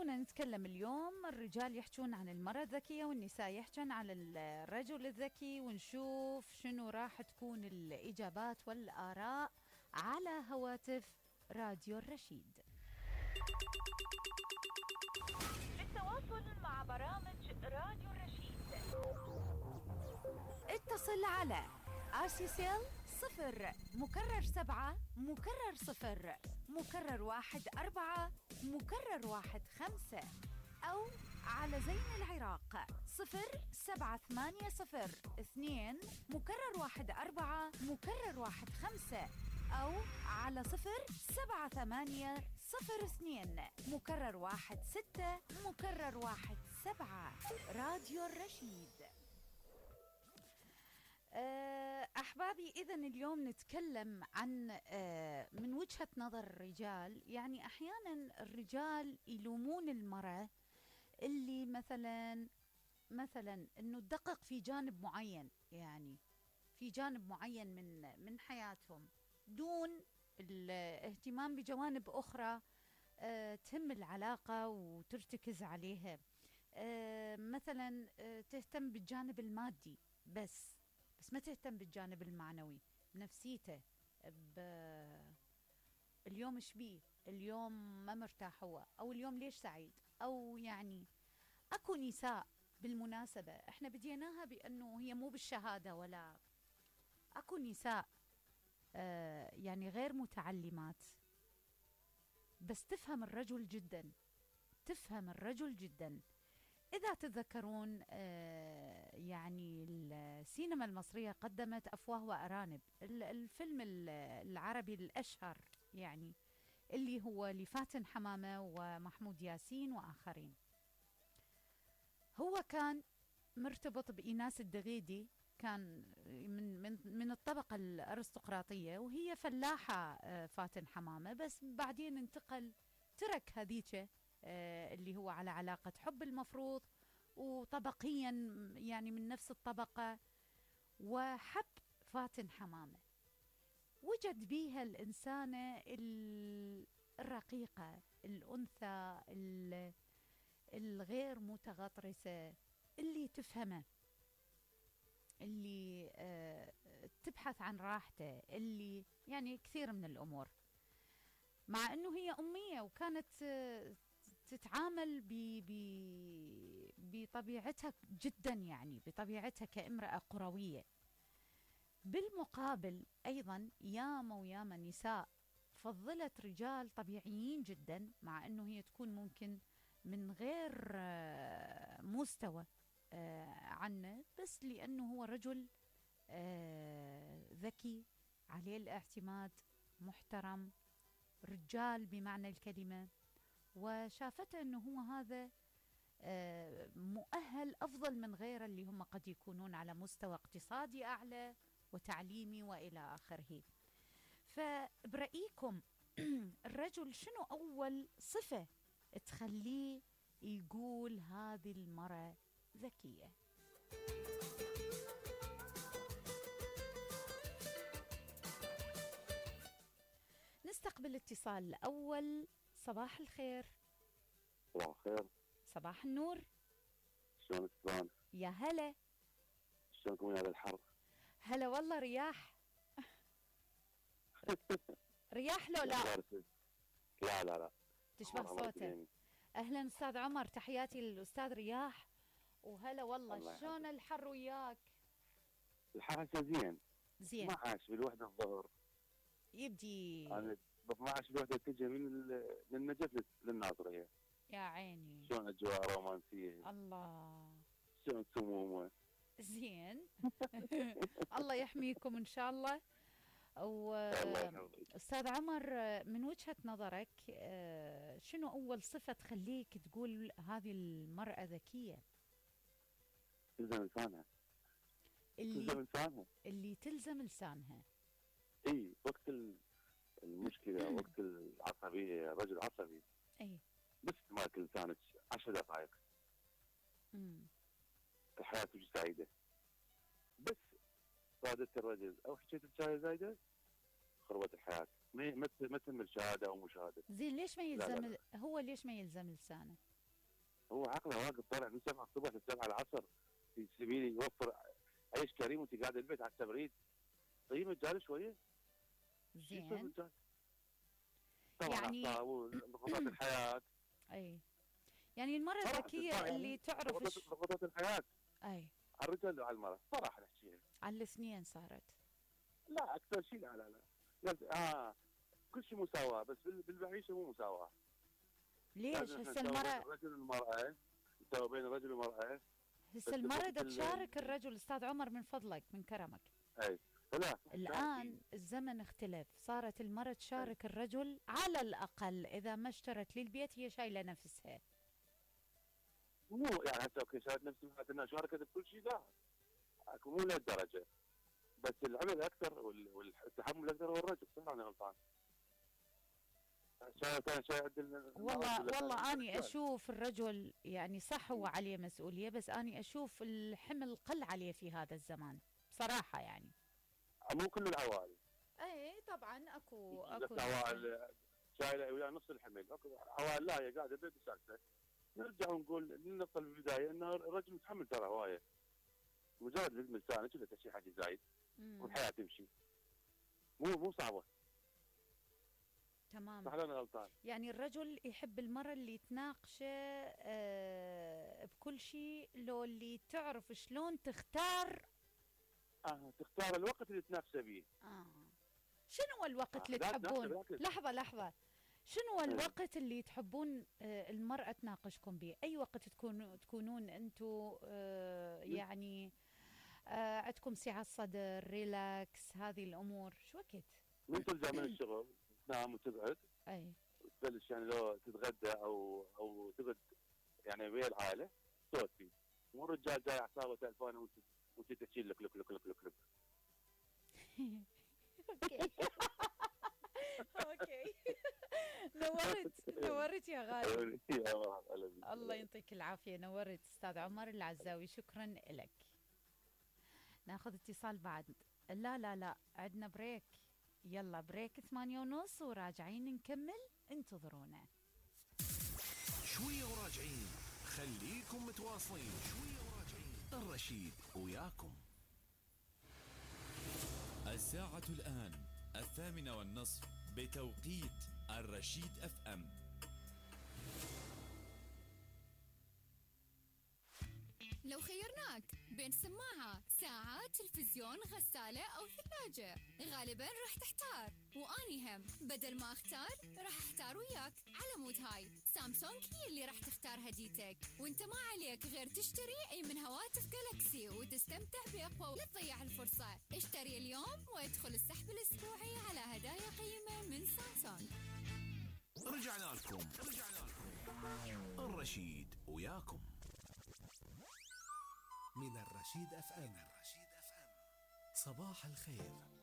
خلونا نتكلم اليوم. الرجال يحجون عن المرأة الذكية والنساء يحجن عن الرجل الذكي، ونشوف شنو راح تكون الإجابات والآراء على هواتف راديو الرشيد. للتواصل مع برامج راديو الرشيد اتصل على آسيسيل 0 مكرر 7 مكرر 1 4 مكرر 1 5، أو على زين العراق 0 7 8 0 2 مكرر 1 4 مكرر 1 5، أو على 0 7 8 0 2 مكرر 1 6 مكرر 1 7. راديو الرشيد. أحبابي، إذن اليوم نتكلم عن من وجهة نظر الرجال. يعني أحيانا الرجال يلومون المرأة اللي مثلا أنه تدقق في جانب معين، يعني في جانب معين من حياتهم دون الاهتمام بجوانب أخرى تهم العلاقة وترتكز عليها. مثلا تهتم بالجانب المادي بس ما تهتم بالجانب المعنوي، بنفسيته، اليوم ايش بيه، اليوم ما مرتاح هو، او اليوم ليش سعيد، او يعني اكو نساء بالمناسبة احنا بديناها بانه هي مو بالشهادة، ولا اكو نساء يعني غير متعلمات بس تفهم الرجل جدا. إذا تتذكرون يعني السينما المصرية قدمت أفواه وأرانب، الفيلم العربي الأشهر يعني اللي هو لفاتن حمامة ومحمود ياسين وآخرين. هو كان مرتبط بإيناس الدغيدي، كان من الطبقة الأرستقراطية، وهي فلاحة فاتن حمامة، بس بعدين ترك هذيك اللي هو على علاقة حب المفروض وطبقيا يعني من نفس الطبقة، وحب فاتن حمامة. وجد بيها الإنسانة الرقيقة، الأنثى الغير متغطرسة، اللي تفهمه، اللي تبحث عن راحته، اللي يعني كثير من الأمور، مع أنه هي أمية وكانت تتعامل بطبيعتها جدا، يعني بطبيعتها كامرأة قروية. بالمقابل أيضا ياما نساء فضلت رجال طبيعيين جدا، مع أنه هي تكون ممكن من غير مستوى عنه، بس لأنه هو رجل ذكي، عليه الاعتماد، محترم، رجال بمعنى الكلمة، وشافته أنه هو هذا مؤهل أفضل من غيره اللي هم قد يكونون على مستوى اقتصادي أعلى وتعليمي وإلى آخره. فبرأيكم الرجل شنو أول صفة تخليه يقول هذه المرأة ذكية؟ نستقبل اتصال الأول. صباح الخير. صباح الخير. صباح النور. شلونك شلون؟ يا هلا. شلونكم يا الحر؟ هلا والله. رياح رياح لو لا؟ لا تشبه صوته. أهلا أستاذ عمر، تحياتي للأستاذ رياح، وهلا والله. شلون الحر وياك؟ الحر زين 12 بالوحدة الظهر يبدي. أنا ب 12 بالوحدة تجي من النجف للناظرية. يا عيني. شلون أجواء رومانسية. الله. شلون سمومة. زين. الله يحميكم إن شاء الله. أستاذ عمر، من وجهة نظرك شنو أول صفة تخليك تقول هذه المرأة ذكية؟ تلزم لسانها. اللي تلزم لسانها. اي وقت المشكلة وقت العصبية، رجل عصبي، اي بس تماكل لسانك 10 دقائق الحياة تجي سعيدة. بس رادت الرجل او حكيت بشاي زايدة خربت الحياة، ما تهم الشهادة او مشاهدة. زين ليش ما يلزم؟ لا. هو ليش ما يلزم لسانه؟ هو عقله واقف طالع من 7 الصبح ل 7 العصر في سبيل يوفر عيش كريم وانت قاعد البيت على التبريد. طيب الرجال شويه، شو يسوي زين. الرجال؟ طبعا يعني اعصاب وضغوطات الحياه. اي يعني المرأة صراحه الذكية يعني اللي تعرف ضغوطات الحياه اي على الرجال وعلى المراه صراحه نحكيها. على الاثنين صارت. لا اكثر شيء لا كل شيء مساواه، بس بالمعيشه مو مساواه. ليش لازم احنا هسه نساوي بين المرأة الرجل والمراه، نساوي بين الرجل والمراه. هسه بس المرأة بوقت دا تشارك الرجل. استاذ عمر من فضلك من كرمك، اي لا الآن الزمن اختلف، صارت المرأة تشارك الرجل على الأقل إذا ما اشترت للبيت هي شايلة نفسها. مو يعني هسه اوكي شاركت نفسي معناته انها شاركت بكل شيء، لا مو لهالدرجه، بس العمل اكثر والتحمل اكثر هو الرجل. صح انا غلطان؟ والله أني أشوف الرجل يعني صح هو عليه مسؤولية، بس أني أشوف الحمل قل عليه في هذا الزمان بصراحة يعني. مو كل العوائل. اي طبعا اكو عوائل شايله ويا نص الحمل، اكو عوائل لا هي قاعده بيت ساكته. نرجع ونقول للنقطه بالبدايه ان الرجل متحمل ترى هوايه، مجرد لازم لسانه كله شيء حاجه زايد والحياه تمشي. مو صعبه. تمام. صح انا غلطان؟ يعني الرجل يحب المرأة اللي تناقشه بكل شيء، لو اللي تعرف شلون تختار. تختار الوقت اللي تنافسه به. شنو الوقت اللي تحبون؟ لحظة شنو الوقت اللي تحبون المرأة تناقشكم به؟ أي وقت تكونون أنتم يعني عندكم سعة صدر، ريلاكس، هذه الأمور، شو وقت؟ من ترجع من الشغل تنام وتقعد، أي تبلش يعني لو تتغدى أو تقعد يعني ويا العائلة صوت فيه، مو الرجال جاي اعصابه تلفونه وانت تحكي لك لك لك لك لك لك. اوكي نورت يا غالي. الله يعطيك العافيه، نورت استاذ عمر العزاوي، شكرا لك. ناخذ اتصال بعد. لا عندنا بريك، يلا بريك 8:30 وراجعين نكمل، انتظرونا شويه وراجعين، خليكم متواصلين. شويه وراجعين، الرشيد وياكم. الساعة الآن 8:30 بتوقيت الرشيد FM. لو خيرناك بين سماعة، ساعة، تلفزيون، غسالة أو ثلاجة، غالباً راح تحتار، وأني هم بدل ما أختار راح أختار وياك. على مود هاي سامسونج هي اللي راح تختار هديتك، وانت ما عليك غير تشتري أي من هواتف جالكسي وتستمتع بأقوى. لا تضيع الفرصة، اشتري اليوم وادخل السحب الأسبوعي على هدايا قيمة من سامسونج. رجعنا لكم الرشيد وياكم من الرشيد FM. صباح الخير.